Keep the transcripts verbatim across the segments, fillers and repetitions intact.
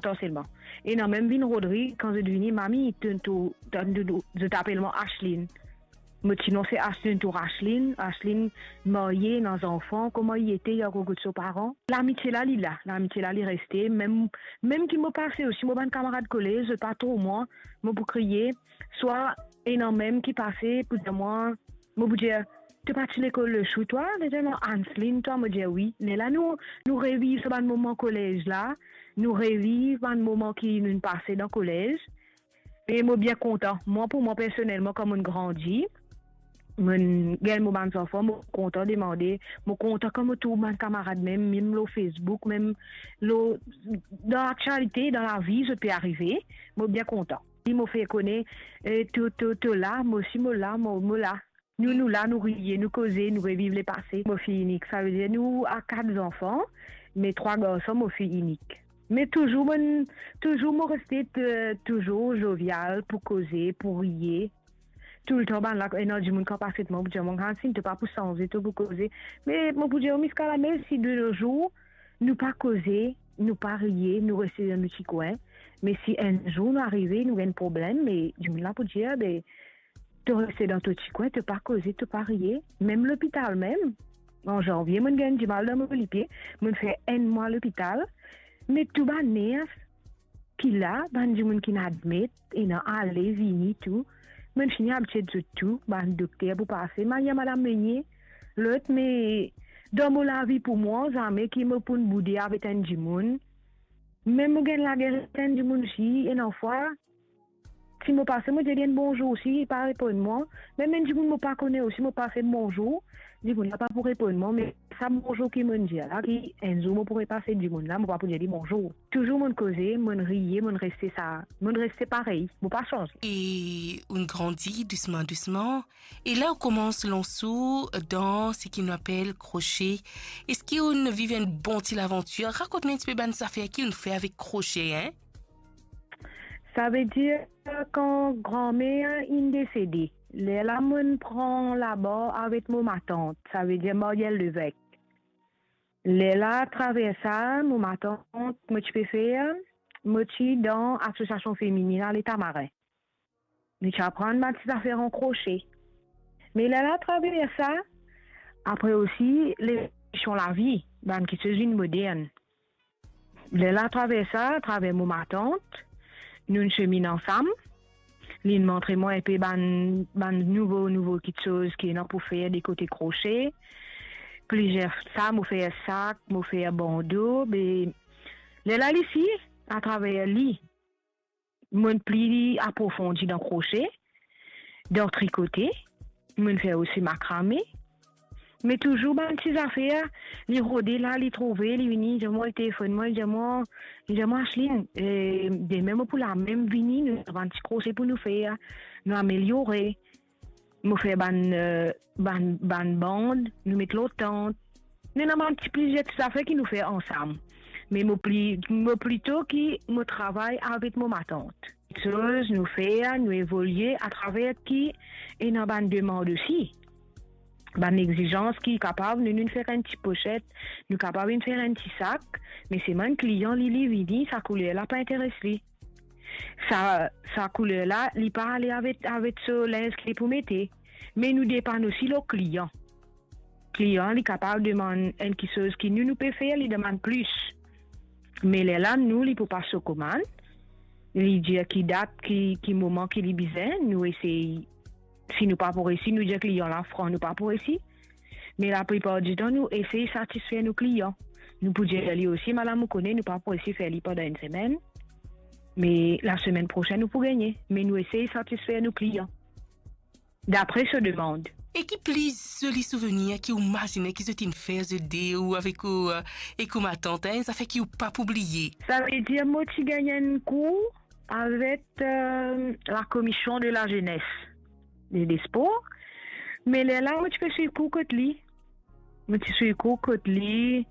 Tan selman. Ena mem vinn rod ri, kan zot vini, "Mami, to, to, to, to, to, zot apel mwa Ashlyn." Mo ti non se Ashlyn, to Ashlyn, Ashlyn marye, ena zanfan, kouma li ete, li ankor kot so paran. Lamitie la, li la, lamitie la, li reste. Mem, mem ki mo pase osi, mo bann kamarad kolez, zot pa trouv mwa, mo pou kriye, swa ena mem ki pase pou dir mwa, mo pou dir, "To pa ti lekol le sou twa?" Li dir mwa, "Ashlyn, twa?" Mo dir, "Wi." Lerla nou, nou reviv sa bann moman kolez la, nou reviv bann moman ki nou pase dan kolez. E mo bien kontan. Mwa, pou mwa personelman, kan mo'nn grandi, mo'nn gagn mo bann zanfan, mo kontan demande, mo kontan kan mo trouv bann kamarad mem, mem lor Facebook, mem lor, dan laktialite, dan lavi, zot pe arive, mo bien kontan. Li mo fer kone, eh, to, to, to la, mo osi mo la, mo, mo la. Nou, nou la, nou riye, nou koze, nou reviv lepase. Mo fi inik, savedir nou a kat zanfan, me trwa garson, mo fi inik. Me touzour, mo'nn, touzour mo reste, eh, touzour jovial pou koze, pou riye. Toultan bann la, ena dimoun kan pase kot mwa, pou dir mwa, "Ashlyn, to pa pou sanze, to pou koze." Me mo pou dir, "Miss Kalamel, si de nos jours, nou pa koze, nou pa riye, nou reste dan nou ti kwin, me si enn zour nou arive, nou gagn problem, me dimoun la pou dir, be, to reste dan to ti kwin, to pa koze, to pa riye." Mem lopital mem, an zanvie, mo'nn gagn dimal dan mo lipie, mo'nn fer enn mwa lopital, me tou bann ners ki la, bann dimoun ki'nn admet, ena ale, vini tou, mo'nn fini abitie zot tou, bann dokter pou pase, Maria, Madam Meunier, lot, me dan mo lavi pou mwa, zame ki mo pou'nn boude avek enn dimoun. Mem mo gagn lager avek enn dimoun osi, ena fwa, si mo pase, mo dir li enn bonzour osi, li pa reponn mwa. Mem enn dimoun mo pa kone osi, mo pase bonzour, dimoun la pa pou reponn mwa, me sa bonzour ki mo'nn dir la, ki enn zour mo pou repase dimoun la, mo pa pou dir li bonzour. Touzour mo'nn koze, mo'nn riye, mo'nn reste sa, mo'nn reste parey, mo pa sanze. E ou'nn grandi dousman, dousman, e la ou koumans lans ou dan seki nou apel krosie. Eski ou'nn viv enn bon ti lavantir? Rakont mwa enn tipe bann zafer ki ou'nn fer avek krosie, en? Savedir, kan granmer inn desede, lerla mo'nn pran labar avek mo matant, savedir Marielle Levesque. Lerla, atraver sa, mo matant, mo ti pe fer, mo ti dan Asosiasion Femininn a Letamarin. Nou ti aprann bann ti zafer an krosie. Me lerla, atraver sa, apre osi, levolisyon lavi, bann kiksoz vinn modern. Lerla, atraver sa, atraver mo matant, nou'nn seminn ansam. Li'nn montre mwa enpe bann, bann nouvo, nouvo kiksoz ki ena pou fer de kote krosie. Plizier sa, mo fer sak, mo fer bando, be lerla li si, atraver li, mo'nn pli aprofondi dan krosie, dan trikote, mo'nn fer osi makrame, me touzour bann ti zafer, li rode la, li trouve, li vini, li dir mwa, li telefonn mwa, li dir mwa, li dir mwa, "Ashlyn, eh, demin mo pou la mem vini, nou ena bann ti krosie pou nou fer, nou ameliore." Mo fer bann, eh, bann, bann band, nou met lor tant. Nou ena bann ti plizier ti zafer ki nou fer ansam. Me mo pli, mo plito ki mo travay avek mo matant. Kiksoz nou fer, nou evolie atraver ki ena bann demand osi. Bann exizans ki kapav, nou, nou'nn fer enn ti poset, nou kapav inn fer enn ti sak, me se bann klian li, li vini, sa kouler la pa interes li. Sa, sa kouler la, li pa ale avek, avek so linz ki li pou mete. Me nou depann osi lor klian. Klian, li kapav demann enn kiksoz ki nou, nou pe fer, li demann plis. Me lerla, nou, li pou pas so komann, li dir ki dat, ki, ki moman ki li bizin, nou esey. Si nou pa pou resi, nou dir klian la fran, nou pa pou resi. Me laplipar ditan, nou esey satisfer nou klian. Nou pou dir li osi, "Madam, ou kone, nou pa pou resi fer li pandan enn semenn. Me lasemenn prosenn, nou pou gagne." Me nou esey satisfer nou klian. Dapre so demand. E ki pli zoli souvenir ki ou mazine ki zot inn fer zot de ou avek ou, eh, ek ou matant, en, zafer ki ou pa pou bliye? Savedir mo ti gagn enn kour avek, eh, la commission de la jeunesse et des sports. Me lerla mo ti pe swiv kour kot li. Mo ti swiv kour kot li.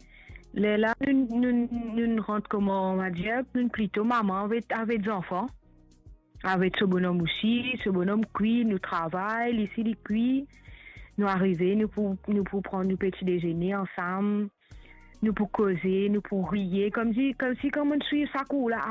Lerla nou, nou, nou rant, koman on va dir, nou plito mama avek, avek zanfan. Avek so bonom osi, so bonom kwi, nou travay, li si li kwi. Nou arive, nou pou, nou pou pran nou peti dezene ansam. Nou pou koze, nou pou riye, koumsi, koumsi kan mo'nn swiv sa kour la,